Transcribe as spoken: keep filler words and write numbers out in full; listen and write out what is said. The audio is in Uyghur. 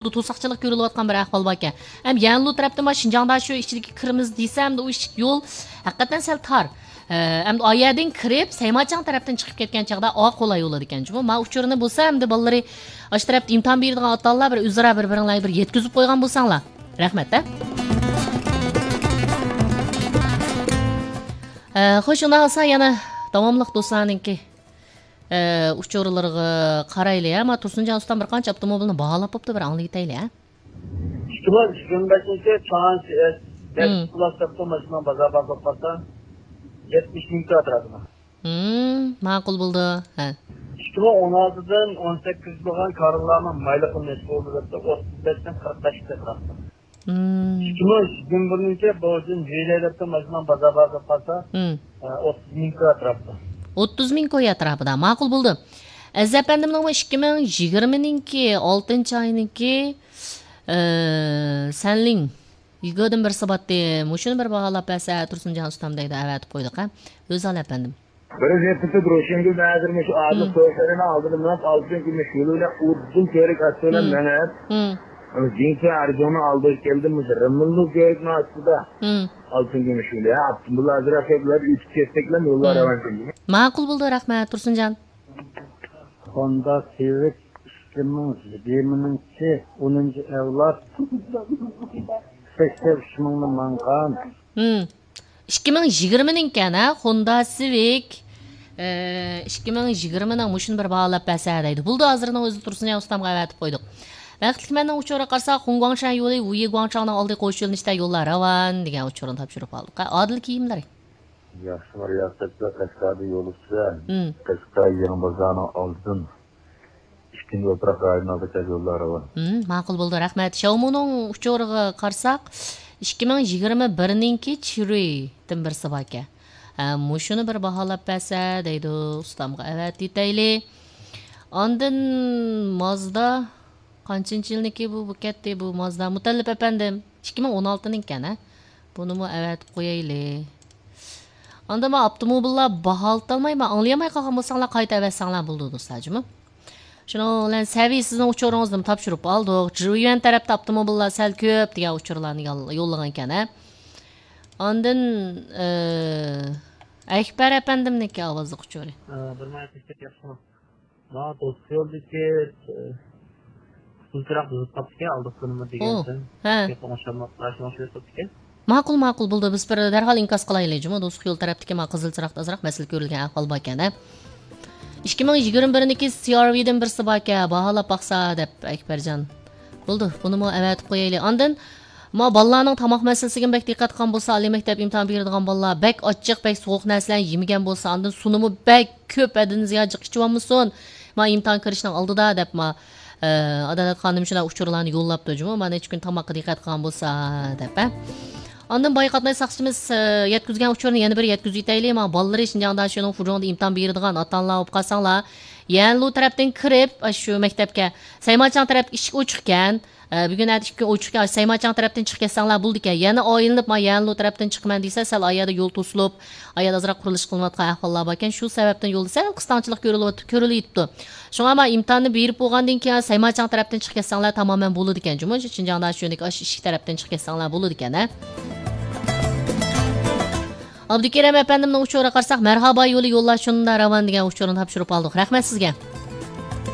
توساقچىلىق كۆرۈلۈۋاتقان بىر ئەھۋال باركەن. ھەم يەنلۇ تەرەپتىن مانا شىنجاڭ داشۆ ئىچىدىكى كىرىمىز دېسە، ئەمدى ئۇ ئىشىك يول ھەقىقەتەن سەل تار. ئە، ئەمدى ئا يەردىن كىرىپ، سەيماچاڭ تەرەپتىن چىقىپ كەتكەن چاغدا ئا قولاي بولىدىكەن جۇمۇ. ما ئۇچۇرنى بولسا ئەمدى بالىلىرى ئاشۇ تەرەپتە ئىمتىھان بېرىدىغان ئاتا-ئانىلار بىر ئۆزئارا بىر-بىرىڭلارگە بىر يەتكۈزۈپ قويغان بولساڭلار. رەھمەت، ھە؟ ئە، خوش، ئۇنداق بولسا يەنە داۋاملىق دوستلارنىڭكى، ئە، ئۇچۇرلىرىغا قارايلى، ھە؟ ما تۇرسۇنجان ئۇستام بىر قانچە ئاپتوموبىلنى باھالاپ بوپتۇ، بىر ئاڭلىۋېتەيلى، ھە؟ ئىككى مىڭ يىگىرمە بەشىنچى چانس ئېس بەش مم. پلۇس ئاپتوماشىنىنىڭ بازار باھاسى قارىسا، يەتمىش مىڭ كۋادراتىدا. مم، ماقۇل بولدى. ھە. ئىككى مىڭ ئون ئالتىدىن ئون سەككىز بولغان كارلارنىڭ مايلىقى نەچچە بولدى دەپتۇ، ئوتتۇز بەشتىن قىرىق بەشكە چىقىپتۇ. مم. ئىككى مىڭ يىگىرمە بىرىنچى بوجىن ھېيلەي دەپتۇ، ماشىنىنىڭ بازار باھاسى قارىسا، مم. ئە، ئوتتۇز مىڭ كۋادراتتا. ئوتتۇز مىڭ كوي ئەتراپىدا. ماقۇل بولدى. ئەزىز ئەپەندىمنىڭمۇ ئىككى مىڭ يىگىرمىنىڭكى ئالتىنچى ئاينىڭكى، ئە، سەنلىڭ يۈگۆدىن بىرسى باتتى. مۇشۇنى بىر باھالاپ بەرسە، تۇرسۇنجان ئۇستام دەيدۇ، ئەۋەتىپ قويدۇق، ھە؟ ئۆزال ئەپەندىم. بىر زېپىتى روشەنگۈل ھازىر مۇشۇ ئادىل مم. توي سەرىنىڭ ئالدىدا مېڭىپ، ئالتۇن كۈمۈش يولى بىلەن ئۇدۇل كۆۋرۈك ئاستى بىلەن مم. مېڭىپ، مم. جىڭچە ئەرجۇڭنىڭ ئالدىغا كەلدى، مۇشۇ رىممىللۇ كۆۋرۈكنىڭ ئاستىدا مم. ئالتۇن كۈمۈش يولى. ھە، ئاپتوموبىل ئازراق كەپلەر ئۆتۈپ كەتسەكلا يوللار مم. راۋان كەلدى. ماقۇل بولدى، رەھمەت، تۇرسۇنجان. ھوندا سىۋىك ئىككى مىڭ يىگىرمىنىڭكى ئونىنچى ئەۋلاد، سەكسەن ئۈچ مىڭنى ماڭغان. مم. ئىككى مىڭ يىگىرمىنىڭكەن، ھە؟ خوندا سىۋىك. ئە، ئىككى مىڭ يىگىرمىنىڭ مۇشۇنى بىر باھالاپ بەرسە دەيدۇ. بولدى، ھازىرنىڭ ئۆزىدە تۇرسۇن ئۇستامغا ئەۋەتىپ قويدۇق. بەختلىك مەننىڭ ئۇچۇرىغا قارىساق، خۇڭگۇاڭشەن يولى ۋۇيى گۇاڭچاڭنىڭ ئالدى قوش يۆنىلىشتە يوللار راۋان دېگەن ئۇچۇرنى تاپشۇرۇپ ئالدۇق. ھە، ئادىل كىيىملىرى. ياخشىمۇ رىياسەتچىلەر قەشقەردە يول ئۈستىدە، مم. قەشقەر يېڭى بازارنىڭ ئالدىدىن ئىككىنچى ئوتراق رايونىغا كەل يوللار راۋان. مم، ماقۇل بولدى، رەھمەت. شاۋمۇنىڭ ئۇچۇرىغا قارىساق، ئىككى مىڭ يىگىرمە بىرنىڭكى چىرۇيدىن بىرسى باركەن. ھە، مۇشۇنى بىر باھالاپ بەرسە دەيدۇ، ئۇستامغا ئەۋەتىۋېتەيلى. ئاندىن مازدا، قانچىنچى يىلنىكى بۇ، بۇ كەتتى، بۇ مازدا. مۇتەللىپ ئەپەندىم، ئىككى مىڭ ئون ئالتىنىڭكەن، ھە؟ بۇنىمۇ ئەۋەتىپ قويايلى. ئاندىن مانا ئاپتوموبىللار باھالىتالماي، مانا ئاڭلىيالماي قالغان بولساڭلار، قايتا ئەۋەتسەڭلار بولىدۇ دوستلار جۇمۇ. شۇنىڭ بىلەن سەۋىي سىزنىڭ ئۇچۇرىڭىزنىمۇ تاپشۇرۇپ ئالدۇق. جىۋيۈەن تەرەپتە ئاپتوموبىللار سەل كۆپ دېگەن ئۇچۇرلارنى يال-، يوللىغانىكەن، ھە. ئاندىن، ئە، ئەكبەر ئەپەندىمنىڭكى ئاۋازلىق ئۇچۇرى. ئە، بىر ماڭا تەكلىپ ياخشىمۇ؟ ماڭا دوسكا يولدىكى، ئە، قىزىل چىراغ بۇزۇپ قاپتىكەن، ئالدىقى كۈنىمۇ ئوھ، دېگەنسەن. ھە. گەپ ئوڭشالماپلا، شۇڭا شۇ يوق بوپتىكەن. ماقۇل، ماقۇل، بولدى. بىز بىر دەرھال ئىنكاس قىلايلى جۇمۇ. دوسكا يول تەرەپتىكى ما قىزىل چىراغدا ئازراق مەسىلە كۆرۈلگەن ئەھۋال باركەن، ھە. ئىككى مىڭ يىگىرمە بىرنىڭكى سى ئار ۋىدىن بىرسى باركەن، باھالاپ باقسا دەپ ئەكبەرجان. بولدى، بۇنىمۇ ئەۋەتىپ قويايلى. ئاندىن ما بالىلارنىڭ تاماق مەسىلىسىگە بەك دىققەت قىلغان بولسا، ئالىي مەكتەپ ئىمتىھان بېرىدىغان بالىلار بەك ئاچچىق، بەك سوغۇق نەرسىلەرنى يېمىگەن بولسا، ئاندىن سۇنىمۇ بەك كۆپ ھەددىدىن زىيادە جىق ئىچىۋالمىسۇن. ما ئىمتىھان كىرىشنىڭ ئالدىدا دەپ ما، ئە، ئادالەت خانىم شۇنداق ئۇچۇرلارنى يوللاپتۇ جۇمۇ. ما نەچچە كۈن تاماققا دىققەت قىلغان بولسا دەپ، ھە. ئاندىن بايا قاتناش ساقچىمىز، ئە، يەتكۈزگەن ئۇچۇرنى يەنە بىر يەتكۈزۈۋېتەيلى. ما بالىلىرى شىنجاڭ داشۆنىڭ فۇجۇڭدا ئىمتىھان بېرىدىغان ئاتا-ئانىلار بولۇپ قالساڭلار، يەنلۇ تەرەپتىن كىرىپ، ئاشۇ مەكتەپكە سەيماچاڭ تەرەپكە ئىشىك ئوچۇقكەن. ئە، بۈگۈن ئەتە ئىككى كۈن ئوچۇقكەن، سەيماچاڭ تەرەپتىن چىقىپ كەتسەڭلار بولىدىكەن. يەنە ئايلىنىپ، ما يەنلۇ تەرەپتىن چىقىمەن دېسە، سەل ئايەردە يول توسۇلۇپ، ئايەردە ئازراق قۇرۇلۇش قىلىنىۋاتقان ئەھۋاللار باركەن. شۇ سەۋەبتىن يولدا سەل قىستاڭچىلىق كۆرۈلۈۋات-، كۆرۈلۈۋېتىپتۇ. شۇڭا ما ئىمتىھاننى بېرىپ بولغاندىن كېيىن سەيماچاڭ تەرەپتىن چىقىپ كەتسەڭلار تامامەن بولىدىكەن. جۇمۇ شىنجاڭدا شۇ يەردىكى ئاشۇ ئىشىك تەرەپتىن چىقىپ كەتسەڭلار بولىدىكەن، ھە. ئابدۇكېرەم ئەپەندىمنىڭ ئۇچۇرىغا قارىساق، مەرھابا يولى يوللار شۇنداق راۋان دېگەن ئۇچۇرنى تاپشۇرۇپ ئالدۇق. رەھمەت سىزگە.